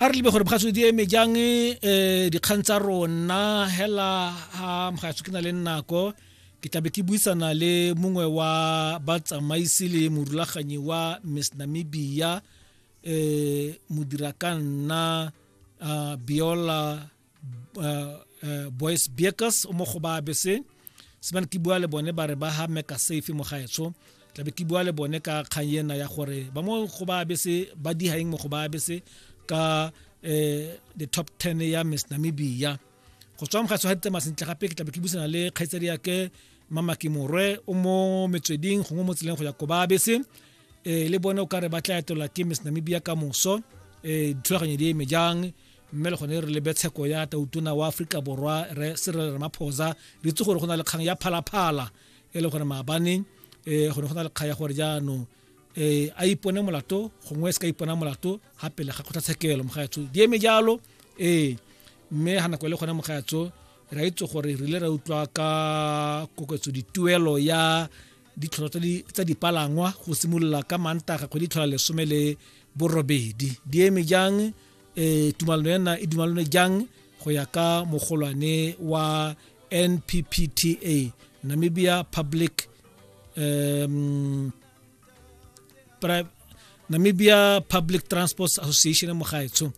A re lebe gore bogatso di eme jang dikgang tsa rona hela ha mogatso ke na le nako ke tlabe ke buisana le mongwe wa batsamaisi le morulaganyi wa Miss Namibia modira ka nna Biola Boys Beakers o mo go ba bese sebane ke bua le bone ba re ba ha meka safe mo gaetsho tlabe ke bua le bone ka kgang ena ya gore ba mo go ba bese ba dihaeng mo go ba bese ka the top 10 ya Miss Namibia go tswa mogatso ga ditsamaya sentle gape ke tlabe ke buisana le kgaitsadi ya ke Mama Kimorwe o mo metsweding gongwe mo tseleng go ya ko ba bese le bone o kare ba tla etelwa ke Miss Namibia ka moso dithulaganyo di eme jang mme le gone re lebe tsheko ya tautona wa Aforika Borwa re Cyril Ramaphosa re itse gore go na le kgang ya phalaphala e le gore maabane go ne go na le kgang ya gore jaanong a ipone molato gongwe se ka ipona molato ga pele ga kgotlatshekelo mogaetsho di eme jalo mme ga nako e le gone mogaetsho re a itse gore re ile ra utlwa ka koketso dituelo ya ditlhotlhwa tsa dipalangwa go simolola ka Mantaga kgwedi tlhola 18 di eme jang tumalano ena e dumalane jang go ya ka mogolwane wa NPPTA Namibia Public Namibia Public Transport Association mogaetsho.